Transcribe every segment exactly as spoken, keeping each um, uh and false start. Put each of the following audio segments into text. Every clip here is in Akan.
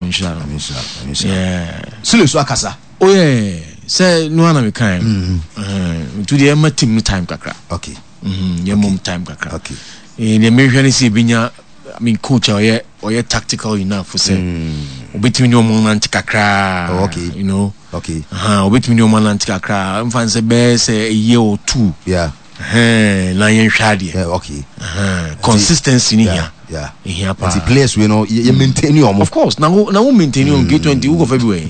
Nhyira no. Nyame nhyira no, Nyame nhyira no. Yeah. Sule so akasa. Oh yeah, sɛ no ana mekae no. Nti deɛ ɛma team no time kakra. Okay. Mhm, yɛmmɔ mu time kakra. Okay. Eh, deɛ mehwɛ ne sɛ yɛbɛnya, I mean, coach a ɔyɛ ɔyɛ tactical enough sɛ obɛtumi ne ɔmo nante kakra. Oh, okay. You know. Okay. Aha, obɛtumi ne ɔmo anante kakra. Mfa n sɛ bɛyɛ sɛ a year or two. Yeah. Ɛhɛn, na yɛnhwɛ adeɛ. Yeah, okay. Ɛhɛn, consistency ne hia. Yeah. Ehia paa. Nti players wei no yɛ yɛ maintain ɔmo. Of course, na wo na wo maintain on K twenty wo kɔfa bi wɔ yi.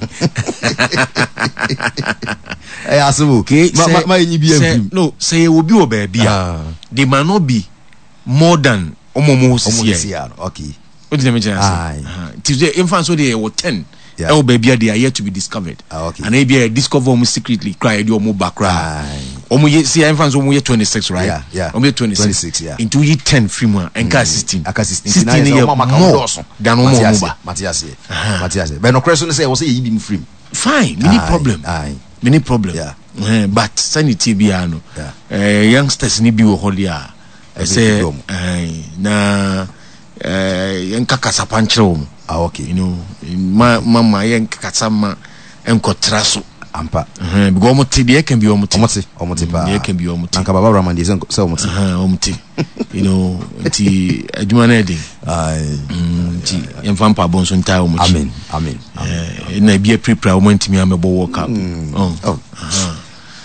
Ɛyɛ asɛm o. Okay, Ma ma sɛ ma yɛnyi bi sɛ amfim. no sɛ yɛwɔ bi wɔ baabi a Ah. they might not be more than ɔmo ɔmo hɔ Ɔmo sisi sisi yɛ. a no. Okay. O ti na mi kyerɛ ase. Aye. Aha. Nti sɛ nfa nso deɛ yɛwɔ ten Yeah. ɛwɔ baabi a they are yet to be discovered. Ah, okay. Ana ebi a yɛ discover ɔmo secretly kora yɛde ɔmo ba kora. Aye. Ɔmo yɛ si nfa nso ɔmo yɛ twenty six right? Yeah, yeah. Ɔmo yɛ twenty six. twenty six, yeah. Nti woyi ten firi mu a ɛnka sixteen. Aka sixteen. Sixteen Nti na yɛ yɛ sɛ ɔmo ama ka more ɔmo dɔɔso. than ɔmo Mate ɔmo aseɛ, ba. Mate aseɛ. Mate aseɛ. Bɛn nɔkorɛ so ne sɛ ɛwɔ sɛ yɛyi bi mu firim. Fine, mini Aye, problem. aye. Mini problem. Yeah. Eh, but sani tie biara no. Yeah. Eh, youngsters ni bi wɔ hɔ deɛ a ɛsɛ Ɛbɛtumi ɔmo. eh, na eh, yɛnka kasapa nkyerɛ wɔn. Ah, okay. You know, ma ma ma yɛnka kasa ma nkɔtra so. Ampa. Ɛhɛn, because ɔmo te deɛ ɛka bi ɔmo te. Ɔmo te, ɔmo te paa. Deɛ ɛka bi ɔmo te. Na nka Baba Rahman deɛ sɛ sɛ ɔmo te. Ɛhɛn, ɔmo te. You know, nti adwuma no yɛ den. Aye. Mm, nti yɛmfa mpaebɔ nso ntaa wɔn akyi. Amen. Amen. Eh, na ebi apirapira wɔn ntumi amɛbɔ World Cup. Oh. Oh.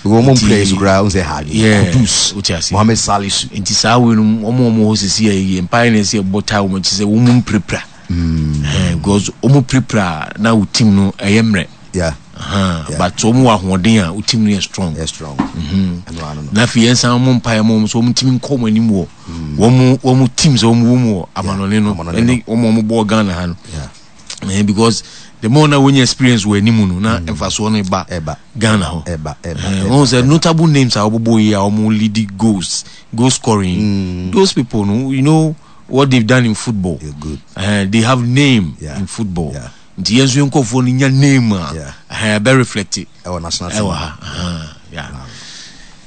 Because ɔmo players koraa ɔmo sɛ ha. Yeah. Kudus. Wote ase. Mohamed Salisu. Nti saa wei no wɔn a wɔn hɔ sisi yɛ yɛ mpae na ɛsɛ ɛbɔ taa wɔn akyi sɛ wɔn mu mpirapira. Eh, because wɔn pirapira na wo team no ɛyɛ mmerɛ. Yeah. Aha, Yeah. but wɔn wɔ ahoɔden a wo team no yɛ strong. Yeah, strong. Ɛno ano no. Na afei yɛn san mo mpae mo so wɔn ntumi nkɔ wɔn anim wɔ wɔn wɔn teams a wɔn wɔ mu wɔ amanɔne no amanɔne ɛne wɔn a wɔn bɔ Ghana ha no. Yeah. Eh, because the more na wɔnya experience wɔ anim no na mfasoɔ no ba Ɛba. Ghana hɔ. Ɛba, ɛba, Eh, ɛba, wɔn sɛ notable names a wɔbobɔ yi a wɔn lead goals, goal scoring. Those people no, you know what they've done in football. Yeah, good. Eh, they have name Yeah. in football. Yeah. Nti yɛn nso yɛn nkɔfoɔ no nya name a, Yeah. eh, ɛbɛ reflect it. Ɛwɔ national team. Ɛwɔ ha. Aha, yeah.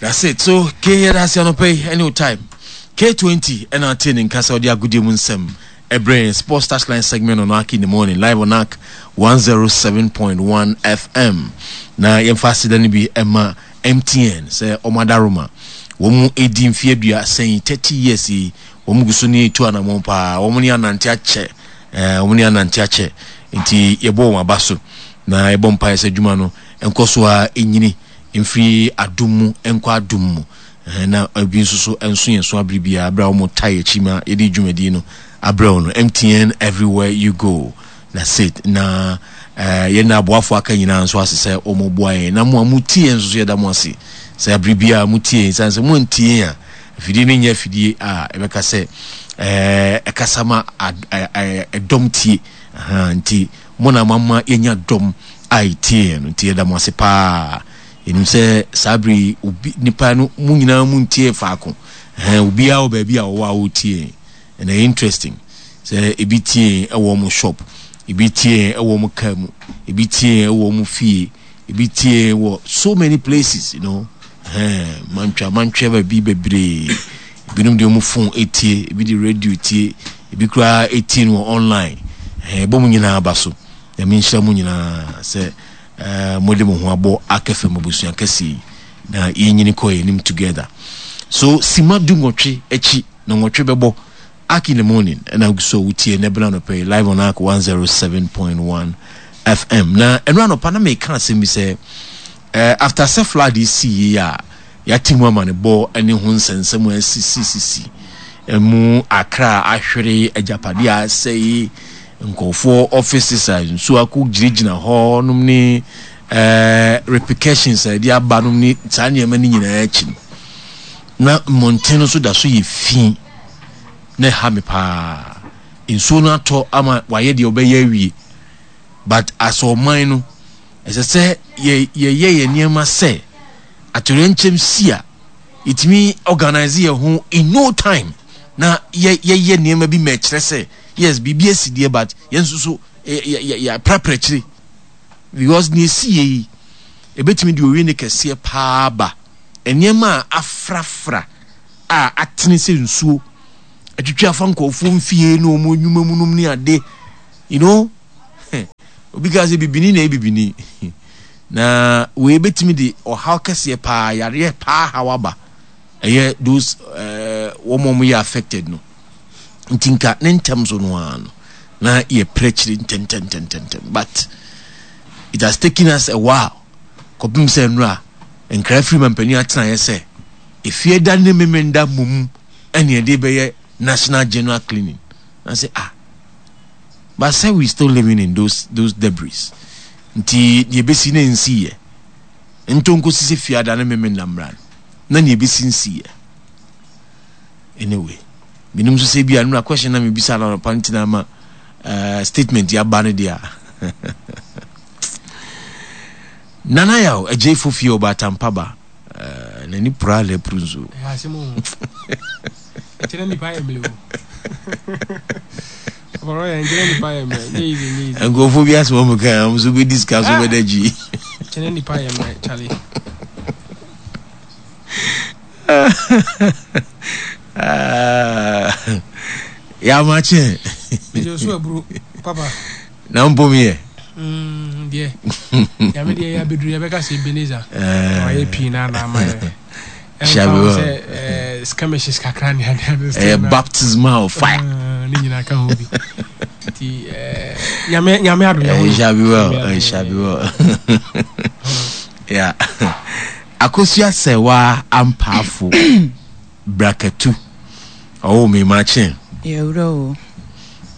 That's it. So K yɛ ase anɔpɛ yi any time. K twenty ɛna ate ne nkasa ɔde agodie mu nsɛm ɛbrɛ yɛn Sports Touchline segment on Ark in the morning live on Ark one zero seven point one F M. Na yɛmfa aseda no bi ɛma M T N sɛ ɔmo adaroma. Wɔn mu edi mfeɛ aduasa thirty years yi wɔn gu so ne etu anamɔn paa. Wɔn ne anante akyɛ. Eh, wɔn ne anante akyɛ. Nti yɛbɔ wɔn aba so. Na yɛbɔ mpaeɛ sɛ adwuma no nkɔ so a enyini mfiri adum mu nkɔ adum mu. Eh, na ebi nso so nso yɛn so abere biara abere a wɔn ta yɛ akyi ma yɛde dwumadie no abrɛ wɔn no. M T N everywhere you go. That's it. Na, eh, yɛn na aboafo aka nyinaa nso ase sɛ wɔn boa yɛn. Na mo a mo tie yɛn nso so yɛda mo ase. Sɛ abere biara mo tie yɛn, san sɛ mo ntie yɛn a, afidie no nyɛ afidie a ɛbɛka sɛ, eh, ɛkasa ma ad-, eh, eh, ɛdɔm tie. Aha, nti mo na mo ama yɛnya dɔm a ɛtie yɛn no, nti yɛda mo ase paa. Yɛnim sɛ saa bere yi, obi, nipa no, mo nyinaa mo ntie faako. Ɛhɛn, obiara wɔ baabi a ɔwɔ a ɔretie yɛn. And ɛyɛ interesting sɛ ebi tie yɛn ɛwɔ ɔmo shop, ebi tie yɛn ɛwɔ ɔmo car mu, ebi tie yɛn ɛwɔ ɔmo fie, ebi tie yɛn wɔ so many places, you know. Ɛhɛn, mantwa, mantwa baabi bebree. Ebinom de ɔmo phone etie, ebi de radio tie, ebi koraa etie no wɔ online. Ɛhɛn, ɛbɔ mo nyinaa aba so. Nyame nhyira mo nyinaa sɛ, eh, mo de mo ho abɔ akɛfɛ mo abusua kɛse yi na yɛnyini kɔ yɛn anim together. So sima du nwɔtwe akyi na nwɔtwe bɛbɔ Ark in the morning ɛna so wotie ne bena anɔpa yi live on Ark one zero seven point one F M. Na ɛno anɔpa na meka asɛm bi sɛ, eh, after sɛ flood yi si yi a yɛate mu ama ne bɔ ne ho nsɛnsɛm a asisisisi emu Accra ahwere agyapadeɛ a asɛe nkurɔfoɔ offices a nsuo akɔ gyinagyina hɔ nom ne, eh, repercussions a yɛde aba nom ne saa nneɛma no nyinaa akyi no, na mmɔnten no nso da so yɛ fi na ɛha me paa. Nsuo no atɔ ama wayɛ deɛ ɔbɛyɛ awie, but as ɔman no ɛsɛ sɛ yɛ-, yɛyɛ yɛn nneɛma sɛ atoyerɛnkyɛm si a yɛtumi organize yɛn ho in no time na yɛ-, yɛyɛ nneɛma bi ma ɛkyerɛ sɛ yes biribi asi deɛ, but yɛn nso so yɛ-, yɛ-, yɛ-, yɛaprapra akyire, because nea esi yɛ yi ebetumi de owie ne kɛseɛ paa ba. Nneɛma a afrafra a atene sɛ nsuo atwitwi afa nkurɔfoɔ mfie ne wɔn nnwuma mu nom ne ade, you know, Obi ka sɛ bibini na ɛyɛ bibini. Na wei bɛtumi de ɔhaw kɛseɛ paa, yareɛ paa haw aba. Ɛyɛ those eh, wɔn a wɔyɛ affected no. Nti nka ne ntɛm so no ara no, na yɛpere akyiri ntɛntɛntɛntɛntɛm. But it has taken us a while kɔpem sɛ nnora nkra firi mampanin atenaeɛ sɛ efie da ne memenda mmom ɛne ɛde bɛyɛ national general cleaning. Na sɛ ah, but sɛ we still living in those those debris. Nti deɛ ɛbɛsi na ɛnsiiɛ. Nto nkosi sɛ fiada ne memenda mmra no na nea ɛbɛsi nsiiɛ. Anyway, menim nso sɛ bi a nnora question na mebisa no anɔpa nti na ama uh, statement yi aba no deɛ a. Nana Yaw, agyefo fie ɔbaatampa ba. Uh, n'ani pura na apuru nso. Ɛyɛ asɛm o. Nkyerɛ nipa yɛ mmerɛ o. Ɔbɔrɔ yɛ nkyerɛ nipa yɛ mmerɛ. Nye easy nye easy. Nkurɔfoɔ bi asɛm ɔmo kan, ɔmo nso bɛdi sika so bɛda gyi. Nkyerɛ nipa yɛ mmerɛ, Charlie. Yamakye. Mede so aburo papa. Na mpo mi yɛ. Mm, deɛ. Nyame deɛ yɛ abɛduru yɛbɛka sɛ Ebenezer. Wayɛ pii na na ama yɛ. Shall be well. Sɛ eh, skirmishes kakra ne ade ade. Ɛyɛ baptismal fire. Ne nyinaa ka ho bi. Nti eh, nyame nyame adom yɛ ho. It shall be well. It shall be well. Yeah. Akosua Sɛwaa Ampaafo Brakatu. Ɔwɔ me makye. Yɛwura o.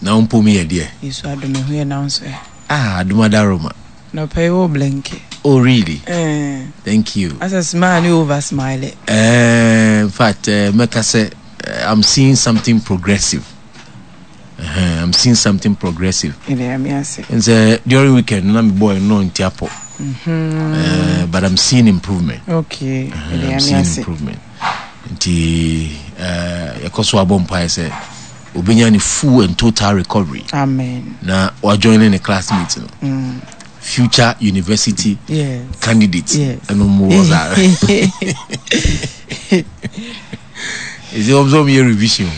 Na wo mpo mi yɛ deɛ. Yesu adom ɛho yɛ na nso ɛ. Ah, adom adaroma. Na ɔpɛ yi wo blinky. Oh really? Eh. Thank you. As a smile ni over smile. Eh, in fact, eh, mɛka sɛ eh, I'm seeing something progressive. Uh, I'm seeing something progressive. And so during weekend, na me boy no ntiapo. Mm-hmm. Uh, but I'm seeing improvement. Okay. Uh, I'm seeing improvement. Nti uh, yɛkɔ so abɔ mpaeɛ sɛ obɛnya ne full and total recovery. Amen. Na wajoin ne classmate no. Mm. Future university yes. candidate. Yes. Ɛno mu wɔ saa. Ɛsɛ wɔn sɛ wɔn yɛ revision.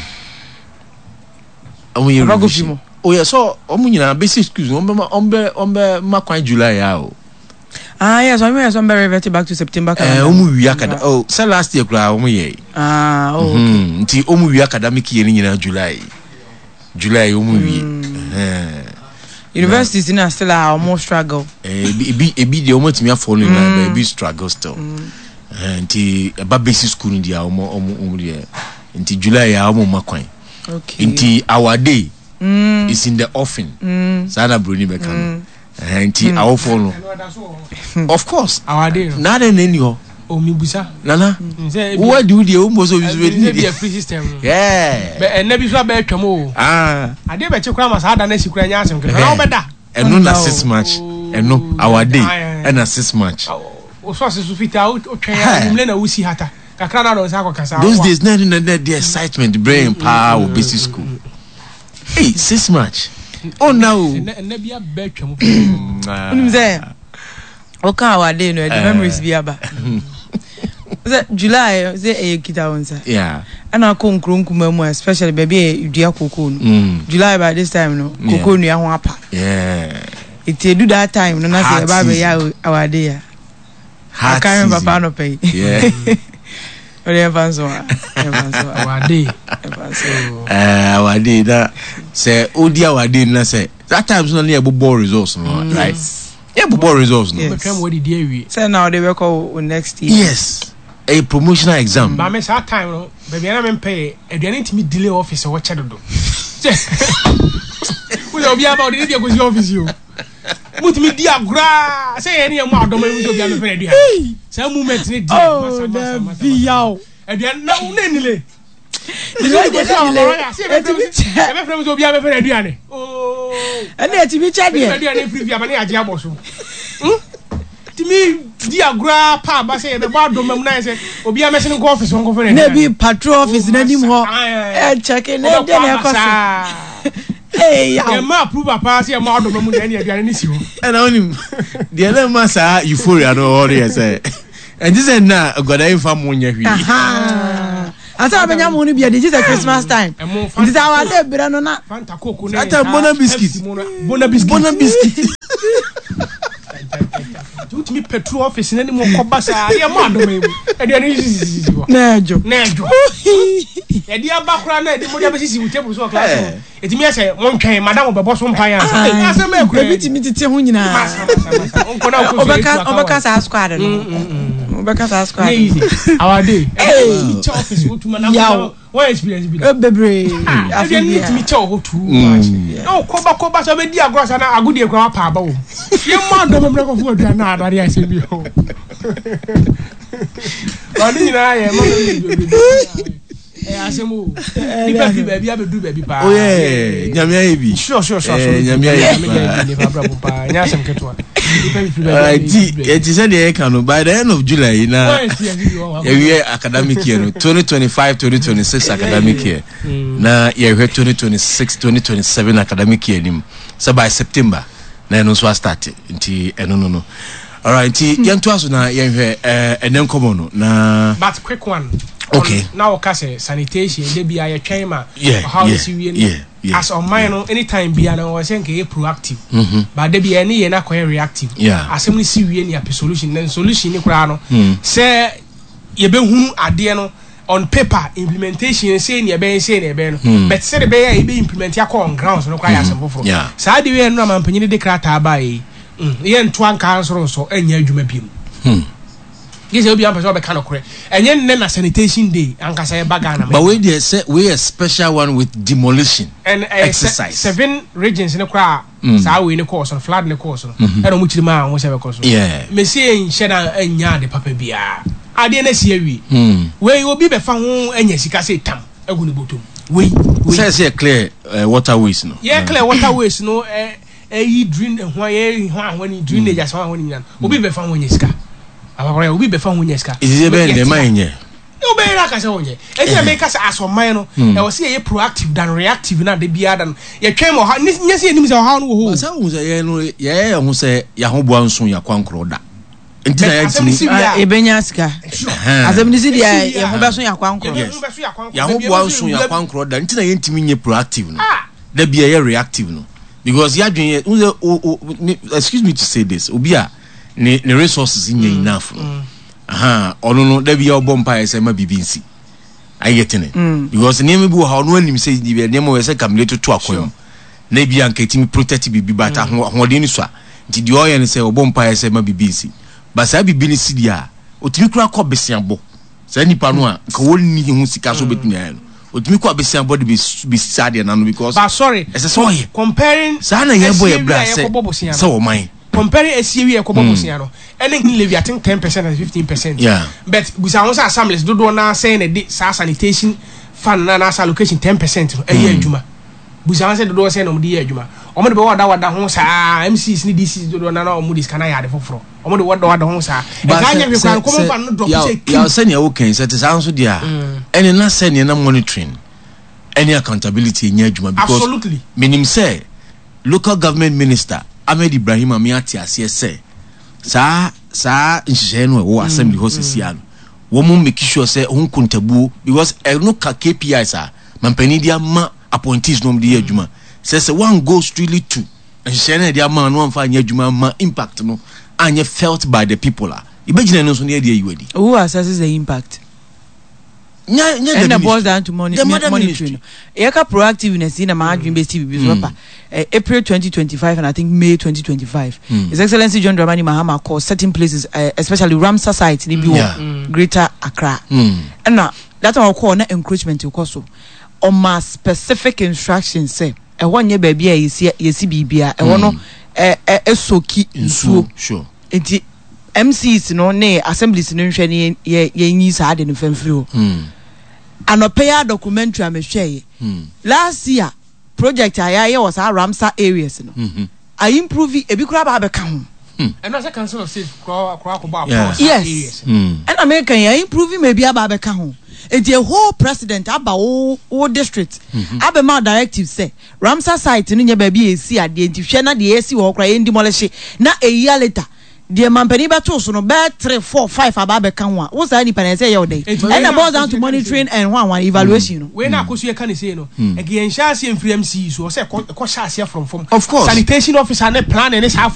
Wɔn yɛ revision. Oh yeah, so wɔn nyinaa basic schools wɔn bɛ ma wɔn bɛ wɔn bɛ ma kwan July ya o. Ah yes, wɔn yɛ sɛ wɔn bɛ revert back to September calendar. Ɛɛ wɔn wi akada oh sɛ last year koraa wɔn yɛ. Ah oh okay. Mm, nti wɔn wi academic year ni nyinaa July. July wɔn wi. Mm. Universities na still a wɔn struggle. Eh, ebi ebi ebi deɛ wɔn atumi afɔ no nyinaa but ebi struggle still. Mm. Eh, nti ɛba basic school no deɛ wɔn wɔn wɔn deɛ nti July a wɔn ma kwan. Okay. Nti our day mm. is in the offing. Mm. Saa na broni bɛka no. Mm. Eh, nti awofoɔ no. Of course. Our day no. Na adɛn na ɛni hɔ. Omibusa. Nana. Wo adi wo deɛ wo mbɔ sɛ obi so bɛ di ne deɛ. free system no. Yeah. Bɛ ɛnɛ bi so abɛ atwam o. Ah. Adeɛ bɛkye koraa ma saa da no asi koraa nyɛ asɛm ketewa. Na wobɛda. Ɛno na six march. Ɛno our day ɛna six march. Wo sɔɔse so fitaa wotwɛn a anwummerɛ na wosi hata. Kakra na dɔn nsa akɔka saa. Those days na ɛno na na the excitement brɛ yɛn paa wɔ basic school. Hey, six march. Oh no. Ɛnɛ ɛnɛ bi abɛ atwam. Wonim sɛ woka our day no ɛde memories bi aba. Sɛ July sɛ ɛyɛ kita wo nsa. Yeah. Ɛna akɔ nkuro nkuma mu a especially baabi a dua koko no. Mm. July by this time no koko nua ho apa. Yeah. Nti edu that time no na sɛ Hard ɛba abɛyɛ season. our day a. Hard Aka me season. papa anɔpa yi. Yeah. Ɔde ɛmfa nso a. Ɛmfa nso a. Our day. Ɛmfa nso. Eh, our day na sɛ odi our day na sɛ that time so na ne yɛ bobɔ results no Mm. right. Yɛ bobɔ results no. Yes. Bɛtwam wɔdidi awie. Sɛ na ɔde bɛkɔ wo next year. Yes. A promotional exam. Maame saa time no baabi a na mempɛ yɛ aduane ntumi delay office hɔ kyɛ dodo. Woyɛ obi aba ɔde ne deɛ kɔsi office yi o. Mutumi di agorɔ a sɛ yɛn ne yɛn mu adɔm ebi sɛ obi amefɛ aduane. Saa moment ne deɛ Oh, masa masa masa. dabi yaw. Aduane na wo na nile. Delay deɛ na delay. Ɛtumi kyɛ. Ɛbɛfrɛ mu sɛ obi amefɛ aduane. Oh. Ɛna ɛtumi kyɛ deɛ. Aduane firi fi aba ne yɛagye abɔ so. Tumi di agorɔ pa aba sɛ yɛbɛbɔ adɔm mu na yɛ sɛ obi amɛsene nkɔ office hɔ nkɔfɛ Na ebi patrol office n'anim hɔ. Ɛkyɛke na ɛdeɛ na ɛkɔ so. Ee yaw. Yɛma approve paa sɛ yɛma adɔm mu na ɛne aduane ne si hɔ. Ɛna wonim deɛ na ɛma saa euphoria no wɔ hɔ no yɛ sɛ ɛnte sɛ nna a nkwadaa yi mfa mo nyɛ hwee. Ahaa. Ansa wabɛnya mo no bi adi gye sɛ Christmas time. Ɛmo Nti sɛ awade berɛ no na Fanta Coke ne That time, Bona biscuit. F C mu no, Bona biscuit. Bona biscuit. petrol office n'anim kɔba saa yɛ mo adɔm yi mu aduane sisisisi hɔ. Na ɛdwo. Na ɛdwo yɛde aba koraa na yɛde mo de abɛsisi wo table so wɔ class hɔ, ɛtumi yɛ sɛ montwɛn madam bɛbɔ so mpaeɛ ansa. Ɛy, asɛm bɛɛ koraa. Ebi tumi tete ho nyinaa. Masa, masa, masa. Nkɔ na wokɔ fie, ɔbɛka etu aka ɔbɛka wa. Saa squad no, ɔbɛka saa squad Nyɛ no. easy our day. Hey. Ɛtumi kyɛ office wotuma na Yaw. wɔn experience bi da. Eh, bebree afe Aduane no biara. tumi kyɛ wɔ hɔ too much na wokɔba kɔba sɛ wobɛdi agorɔ sa na agodie koraa wapa aba wɔ mu. Yɛmmɔ adɔm mmerɛ kɔfo aduane na adade asɛm bi hɔ ɔne nyinaa yɛ ma ɛyɛ asɛm o. Nipa firi baabi abɛduru baabi paa. Oh yeah, Nyame ayɛ bi. Sure sure sure Eh, Nyame ayɛ bi paa. Nipa abrabɔ paa ɛnyɛ asɛm ketewa. Nipa firi baabi Alright, abɛduru ti baabi. yɛti sɛ deɛ yɛka no, by the end of July yi na Wɔn experience bi wɔ hɔ. yɛwie academic year no, twenty twenty-five twenty twenty-six academic year, na yɛhwɛ twenty twenty-six twenty twenty-seven academic year nim sɛ by September na ɛno nso astart. Nti ɛno no no alright, nti yɛntoa so na yɛnhwɛ ɛɛ ɛnɛ nkɔmɔ no na But quick one. Okay. Na wɔka sɛ sanitation de bia yɛtwɛn ma Yeah, ɔhaw no yeah, si wie no. yeah, yeah, As ɔman no, anytime bia no wɔ sɛ nka yɛ proactive, but de bia ɛne yɛ no akɔyɛ reactive. Yeah. Asɛm no si wie ne apɛ solution, na solution ne koraa no Mm. sɛ yɛbɛhunu adeɛ no on paper, implementation sei ne ɛbɛyɛ, sei ne ɛbɛyɛ no, Mm. but sɛde bɛyɛ a yɛbɛ implement akɔ on grounds no koraa yɛ asɛm foforɔ. Yeah. Saa de wei no amampanyini de krataa baa yi, mm, yɛntoa nkaa nsoro nsɔ ɛnyɛ adwuma biom. Hmm. Gye sɛ obi ampɛ sɛ ɔbɛka nokorɛ, ɛnyɛ nnɛ na sanitation day ankasa yɛba Ghana. But wei deɛ sɛ wei yɛ special one with demolition And ɛyɛ se- exercise. Seven regions ne koraa Mm. saa wei ne kɔɔ so no, flood ne kɔɔ so no, ɛna ɔmo kyerɛ mu a ɔmo sɛ bɛkɔ so. Yeah. Mesi nhyɛ da anya ade papa biara, adeɛ no asi awie. Hmm. Wei obi bɛfa ho anya sika sɛ tam agu ne bɔtɔm wei wei. Sɛ sɛ yɛ clear uh, waterways no. Yɛ clear waterways no, ɛ ɛyi drain ho yɛ ho ahɔ ni drainage asɛm ahɔ ni nyina no, obi bɛfa ho anya sika abakɔrɔ, obi bɛfa ho anya sika. Ɛsɛ bɛyɛ ndɛ ma yɛnyɛ. Wobɛyɛ no aka sɛ wonyɛ ɛnti na meka sɛ asɔman no ɛwɔ sɛ yɛyɛ proactive than reactive, na de biara da no yɛtwɛn ma ɔha nyɛ sɛ yɛnim sɛ ɔhaw no wɔ hɔ o. Sɛ wohu sɛ yɛn no yɛyɛ yɛn ho sɛ yɛahoboa nso yɛakwankorɔ da nti na But asɛm yɛntumi si wie Ah, a yɛbɛnya sika. Asɛm no si deɛ yɛn ho bɛso yɛ akwankorɔ. Yes. Yɛho bɛso yɛ akwankorɔ. Yɛahoboa nso yɛakwankorɔ da nti na yɛntumi nyɛ proactive no. Ah. Da bi yɛyɛ reactive no because yɛadwene yɛ wohu sɛ o o me, excuse me to say this, obi a ne ne resources nyɛ enough no, aha ɔno no da bi yɛ ɔbɔ mpaeɛ sɛ ma biribi nsi ayɛ tene because nneɛma bi wɔ ha, ɔno anim sɛ nneɛma wɔ sɛ kamile toto akwan mu na ebi anka etimi protect biribi, but aho ahoɔden no so a nti deɛ ɔyɛ no sɛ ɔbɔ mpaeɛ sɛ ma biribi nsi, but saa biribi no si deɛ a otumi kura kɔ besiabɔ saa nipa no a nka wɔnni ho sika so obetumi ayɛ no, otumi kɔ abesiabɔ de besi besi saa deɛ n'ano because But sorry, ɛsɛ sɛ ɔyɛ comparing saa na yɛbɔ yɛ bra esie sɛ wi a yɛkɔbɔ bosea sɛ no, ɔman comparing esie wi a yɛkɔbɔ bosea no ɛne levy, I think ten percent and fifteen percent. Yeah. But busa ho sɛ assemblies dodoɔ naa sɛn na de saa sanitation fund na na allocation ten percent no ɛyɛ adwuma. Busa ho sɛ dodoɔ sɛn na wɔde yɛ adwuma. Wɔn de bɛ wɔda wɔda ho saa. M Cs ne D Cs dodoɔ naa na wɔn de sika na yɛ ade foforɔ, wɔn de wɔda wɔda ho saa. Ɛka nyɛ hwɛ kwan common fund no drop sɛ yaw sɛnea wokan sɛ te saa nso deɛ a ɛne na sɛnea na monitoring ɛne accountability ɛnyɛ adwuma because Absolutely. menim sɛ Local Government Minister Ahmed Ibrahim ame ate aseɛ sɛ saa saa nhyehyɛeɛ no a ɛwɔ assembly hɔ sesia no, wɔn mo make sure sɛ ho nkontabuo because ɛno ka K P Is a mampanin de ama appointees no, wɔn de yɛ adwuma sɛ sɛ one go strictly to nhyehyɛeɛ no a yɛde ama no amfa anyɛ adwuma ama impact no anyɛ felt by the people a yɛbɛgyina no nso ne yɛde ayi wadi. Who assesses the impact? Nyɛ nyɛ ɛna the boils ministry. Down to money, The mother monitoring ministry. No yɛka proactiveness yi na maa adwene bɛsi bibi so papa. Eh, April twenty twenty-five and I think May twenty twenty-five, His Excellency John Dramani Mahama called certain places, uh, especially Ramsar site ni bi wɔ Yeah. Greater Accra, Mm. ɛna that time ɔkɔɔ na encroachment kɔ so, ɔma specific instructions sɛ ɛhɔ nyɛ baabi a yɛsi yɛsi biribia, ɛhɔ no ɛ ɛ ɛsoak nsuo. Sure. Nti M Cs no ne assemblies no nhwɛ ne yɛ yɛnyi saa de no fɛn firi hɔ. Mm. Anɔpɛ yi a documentary a mehwɛ yɛ Mm. last year, project a yɛayɛ wɔ saa Ramsar areas no Mhm. a improve, ebi koraa ba abɛka ho. Ɛno sɛ Council of State koraa koraa kɔbɔ Yeah. apɔ saa Yes. areas. Mm. Ɛna meka yɛ a improve ma ebi aba abɛka ho, eti a whole president aba wo wo district abɛma directive sɛ Ramsar site no nyɛ baabi a esi adeɛ, nti hwɛ na deɛ esi wɔ hɔ koraa yɛn demolish, na a year later deɛ mampanin bɛto so no bɛɛ three four five aba abɛka ho a wo saa nipa na ɛsɛ yɛ ɔdɛ. Enti wei Ɛna na boils down to akɔsi monitoring and one one evaluation no. Wei na akoso yɛ ka ne sei no, ɛkɛ yɛn hyɛ aseɛ mfiri M C so, ɔsɛ ɛkɔ ɛkɔ hyɛ aseɛ from fam. Of course. Sanitation officer ne planning ne saa.